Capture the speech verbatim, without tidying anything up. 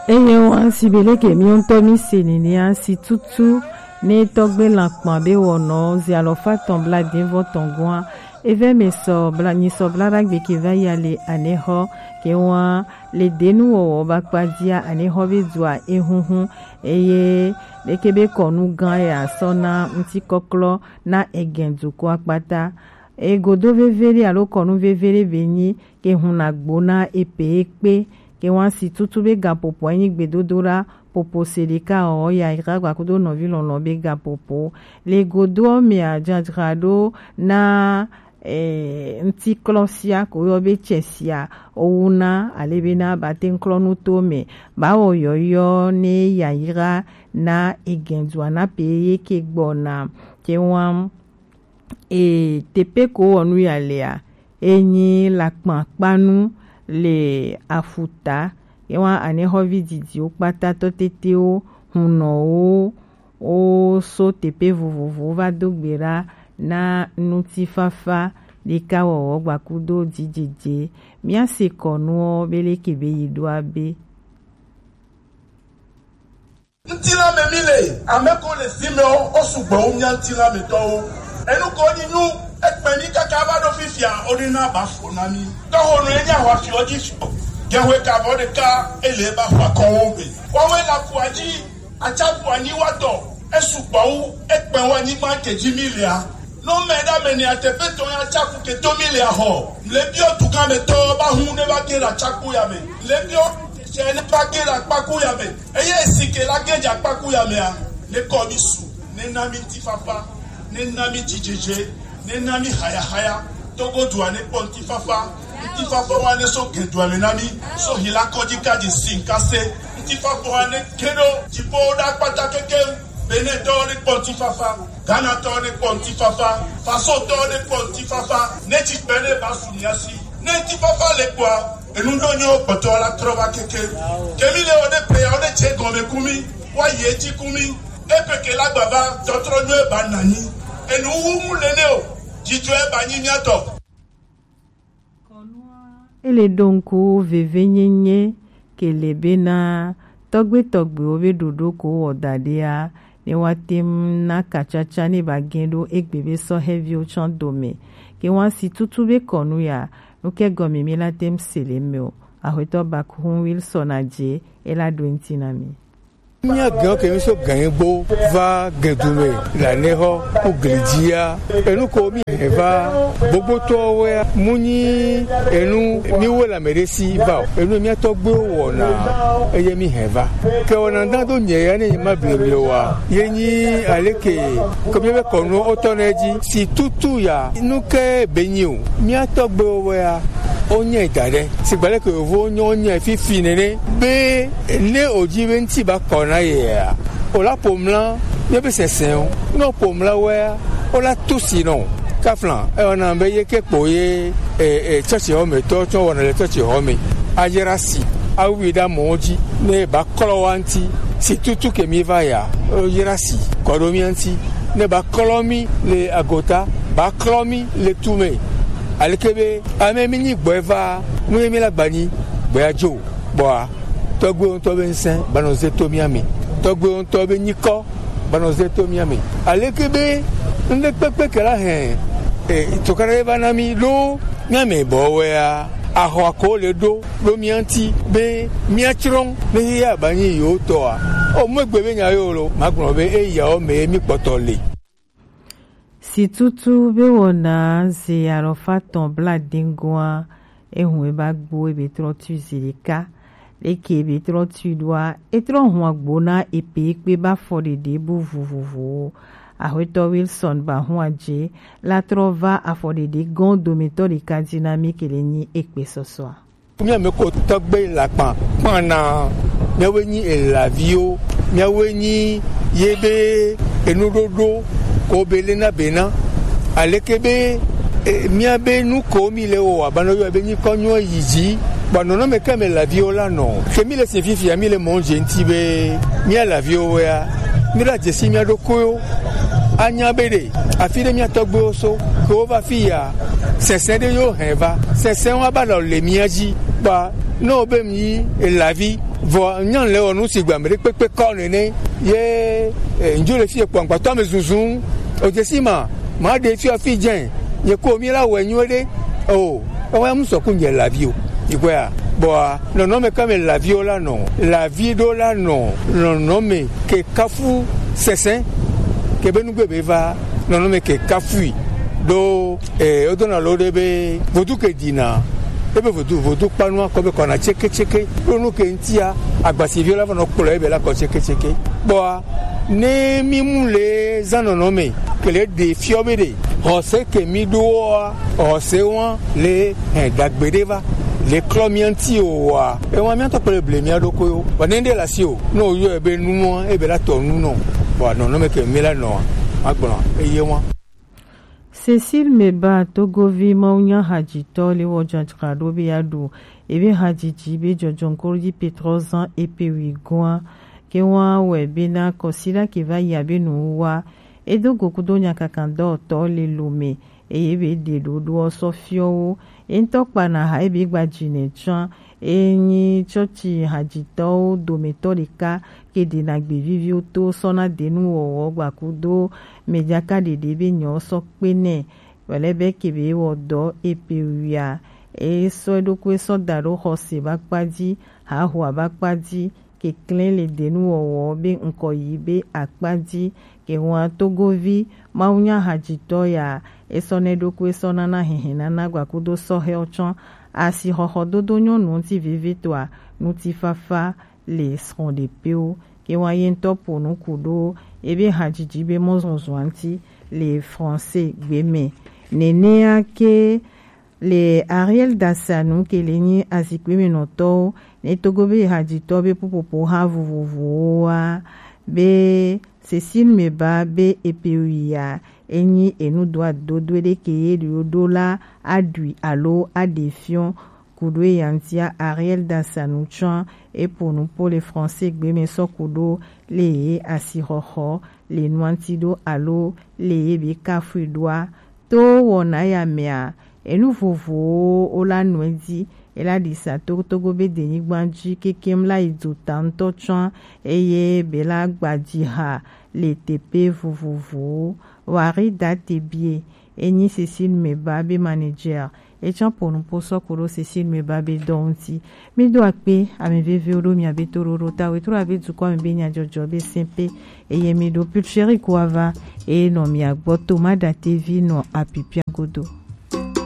Eye wa si be leke mi ŋutɔ mi se nenia si tutu ne tɔgbe lakpan be wɔnɔ zi alɔfa tɔn bla din vɔ tɔn gɔn a, evɛ mɛ sɔ bla nyi sɔ bla ɖagbe ke va ya le anexɔ ke wa le denu wɔwɔ ba kpa dia anexɔ be dua ehunhun eye leke be kɔnu gan ya sɔ na ŋuti kɔklɔ na egɛn duko akpata. Egodo vevele alo kɔnu vevele be nyi ke hun na gbo na epe ekpe ke wan si tutu be gapopo enyi gbedodo la popo se ɖeka ɔ ya ira gba kudo nɔvi lɔlɔ be gapopo le godo ɔ mɛ a jajra ɖo na eh, ŋtiklɔ sia ko yɔ be cɛ sia owu na ale be na ba te ŋklɔ nu to mɛ ba wɔ yɔyɔ ne yayira na egɛn dua na pe ye ke gbɔ na ke wan e tepe ko wɔ nu ya lea, e nyi lakpan kpanu le afuta. Ye wa anexɔvi didiwo kpata tɔ tetewo, hunɔwo, wo so tepe vovovowo va do gbe ɖa na ŋutifafa ɖeka wɔwɔ gbakudo dzidzedze. Mía se kɔnuɔ be leke be yi ɖo abe. Ŋutilã me mí le, ame ko le fi mɛ ɔ, wo sugbɔ wu mía ŋutilã me tɔwo. Enu ko nyi nu ekpɛ mí kaka va ɖo fifia, wo ɖe na ba fo na mí. Tɔxonu ye nyi ahwa fiɔ dzi fiɔ. Gɛhwe kavɔ ɖeka ele ba hwa kɔwo me. Wawe la kua dzi, atsaƒu anyi wa tɔ, esugbɔ wu ekpɛ wa nyigba ke dzi mí lea. Nɔ mɛ ɖa mɛ ni ateƒe tɔ ya tsaku ke to mi le ahɔ. Le biɔ duga me tɔ ba hu ne ba ke la tsaku ya me. Le biɔ tse ne ba ke la kpaku ya me. Eye si ke la ke dza kpaku ya me a. Ne kɔ mi su. Ne na mi ŋutifafa. Ne na mi dzidzedze. Ne na mi hayahaya. Togo dua ne kpɔ ŋutifafa. Ŋutifafa wa ne so ke dua me na mi. So hi la kɔdzi ka dzi si nka se. Ŋutifafa wa ne ke ɖo dziƒo ɖa kpata kekem. Benetɔwo ne kpɔ ŋutifafa, Ghanatɔwo ne kpɔ ŋutifafa, Fasotɔwo ne kpɔ ŋutifafa, ne tsi kpe ne ba su mia si. Ne ŋutifafa le kpɔa, enu ɖo nyo kpɔtɔ la trɔ va keke. Kemi le wo ne pe ya wo ne tse gɔme kumi, wa ye tsi kumi. Epe ke la gbava tɔtrɔ nyo eba nanyi. Enu wu mu le ne o, dzidzɔ eba nyi mia tɔ. Ele ɖo ŋku vevenyenye ke le bena tɔgbe tɔgbewo be ɖoɖo ko wɔ da ɖea ne wa tem na kacaca ne ba gɛn ɖo egbe be sɔhɛviwo tsã dome. Ke wa si tutu be kɔnu ya, nu ke gɔme mi la tem se le me o. Axwetɔ Bakuhun Wilson Adje, e la ɖo ŋti na mi. Mía gɛ̃wo ke mí so gɛ̃ gbo va gɛ̃du me le anexɔ ku gli dzia. Enu ko mí hɛn va gbogbotɔwo wɛa, mu nyi enu mí wo le ame ɖe si va o. Enu mía tɔgbuiwo wɔna eye mí hɛn va. Ke wɔna da do nye ya ne nyi ma ble ble wa. Ye nyi aleke ke mí be kɔnu o tɔ ne dzi. Si tutu ya nu ke be nyi o. Mía tɔgbuiwo wɛa, o nyɛ da ɖe. Sigba leke yovowo nyɔ nyɛ fifi nene. Be ne o dzi be ŋuti ba kɔ na yea, o la ƒo mla míaƒe sesẽwo. Ne o ƒo mla wɔea, o la to si nɔ. Kafla, ewɔna be ye ke kpo ye e, e, tsɔtsi xɔ me tɔ tsɔ wɔna le tsɔtsi xɔ me. Ayra si, awui ɖe amewo dzi. Ne ba klɔ wa ŋuti, si tutu ke mi va ya, o yra si, kɔ ɖo mía ŋuti. Ne ba klɔ mi le agota, ba klɔ mi le tu me. Aleke be ame mi nyi gbɔe va, nu ye mi la gba nyi, gbɔe adzo. Bɔa, tɔgbuiwo ŋutɔ be ŋusẽ ba nɔ ze to mía me. Tɔgbuiwo ŋutɔ be nyikɔ ba nɔ ze to mía me. Aleke be ŋɖekpekpe ke la hɛn, e, tukaɖa ye va na mi ɖo mía me bɔ wɛa, axɔ ko le ɖo ɖo mía ŋuti be mía tsrɔ̃ ne xexea ba nyi yewo tɔa. O mu egbe be nya yo lo, magblɔ be eyawo me mi kpɔtɔ le. Si tutu be wɔna ze alɔfa tɔn bladeŋ goa, ehun e ba gbo ebe trɔ tui zi ɖeka. Leke ebe trɔ tui ɖoa, e trɔ hun agbo na epe kpe ba fɔ ɖeɖe bu vovovowo. Axwetɔ Wilson ba hun adze la trɔ va afɔ ɖeɖe gɔn dometɔ ɖeka dzi na mi ke le nyi ekpe sɔsɔa. Mía me ko tɔgbe lakpan kpana. Míawoe nyi elaviwo. Míawoe nyi ye be enuɖoɖo ko be lena bena. Aleke be, e, míabe nu ko mi le wɔ wòabe nɔ yɔ be nyikɔ nyɔ yi dzi. Bɔ nɔnɔme ke me elaviwo la nɔ. Ke mi le se fifia, mi le mɔ dze ŋuti be mía elaviwo wɛa, mi la dzesi mía ɖokuiwo. Anya be ɖe afi ɖe mía tɔgbuiwo so ke wova fi ya, sɛsɛ ɖe yewo hɛn va. Sɛsɛ wa ba nɔ le mía dzi. Kpa ne wo be mi elavi, Vɔ nya le wɔ nu si gba mɛ ɖe kpekpe kɔ nene ye eh, ndzo le fi ekpɔ agbata me zuzun. O desi ma ma ɖe fi afi dze nye ko mi la wɛ nyuie ɖe. O ewa mu sɔku nye lavi o. Ikwea bɔa nɔnɔme kame laviwo la nɔ lavi ɖo la nɔ nɔnɔme ke kafu sɛsɛ ke be nugbe be va nɔnɔme ke kafui ɖo. Ee, wodona lo ɖe be vodu ke dina ebe vodu vodu kpanua kɔ be kɔna tseke tseke ɖo nu ke ŋutia agbasiviwo la va nɔ kplɔ ebe la kɔ tseke tseke. Kpɔa ne mi mu le zã nɔnɔ me ke le ɖe fiɔ be ɖe xɔse ke mi ɖoa xɔse wa le hɛn dagbe ɖe va le klɔ mia ŋuti o wa ewa mia tɔ kple ble mia ɖokoewo wa ne ɖe la si o ne o yɔ ebe numɔ ebe la tɔ nu nɔ wa nɔnɔ me ke mi la nɔ agblɔ eye wa. Cécile Meba, Togovi mawunya hadzitɔ le wɔ dzadzraɖo be yeaɖu ebe hadzidzi be dzɔdzɔŋkroɖi Petro zan epe wi goa ke wa wɛ bena kɔsiɖa ke va yi abe nuwuwa. Edo go kudo nyakakadɔwɔtɔ le Lome eye be ɖeɖoɖoɔ sɔ fiɔ wo. Ye ŋutɔ kpana ha ebe gba dzi nɛ tsã. Enyi tsɔtsi hadzitɔwo dometɔ ɖeka ke ɖena gbe viviwo to sɔna denuwɔwɔ gbakudo mɛdzaka ɖeɖe be nyɔ sɔ kpe nɛ. Wɛlɛ be ke be wɔ dɔ epe wia e sɔ eɖokui sɔ da ɖo xɔse ba kpa dzi, haho aba kpa dzi, keklẽ le denuwɔwɔ be ŋkɔ yi be akpa dzi. Ke hua Togovi mawunya hadzitɔ ya esɔ ne ɖokui sɔ nana hihi nana gbakudo sɔhɛwo tsɔ asixɔxɔdodo nyɔnu ŋuti vevitɔa ŋutifafa le srɔ̃ɖepewo. Ke wa ye ŋutɔ ƒo nu ku ɖo ebe hadzidzi be mɔzɔzɔa ŋuti le Français gbe me. Nenea ke le Ariel Dasanu ke le nyi azikpe me nɔtɔwo ne togo be hadzitɔ be ƒuƒoƒo ha vovovowoa be Cécile Meba be epe wia enyi enudoadodo ɖe ke ye ɖo ɖo la aɖui alo aɖe fiɔ. Kuɖo eya ŋutia Ariel Dasanu tsɔ eƒo nu ƒo le Français gbe me sɔ kuɖo le ye asixɔxɔ le nua ŋuti ɖo alo le ye be kafui ɖoa. To wɔna ya mea enu vovovowo wo la nɔe dzi ela ɖisa togotogo be denyigba dzi kekem la yi dzo ta ŋutɔ tsɔ eye be la gbadzi ha le teƒe vovovowo. Wari da tebie enyi Cécile Meba be manager. Etsã ƒo nuƒo sɔ ku ɖo Cécile Meba be dɔ ŋuti. Mi do akpe ame veviwo ɖo mia be toɖoɖo ta wetro abe dukɔ me be nyadzɔdzɔ be sɛnpe eye mi ɖo pulcheri ko ava eye nɔ mia gbɔ to ma da tevi nɔ apipia godo.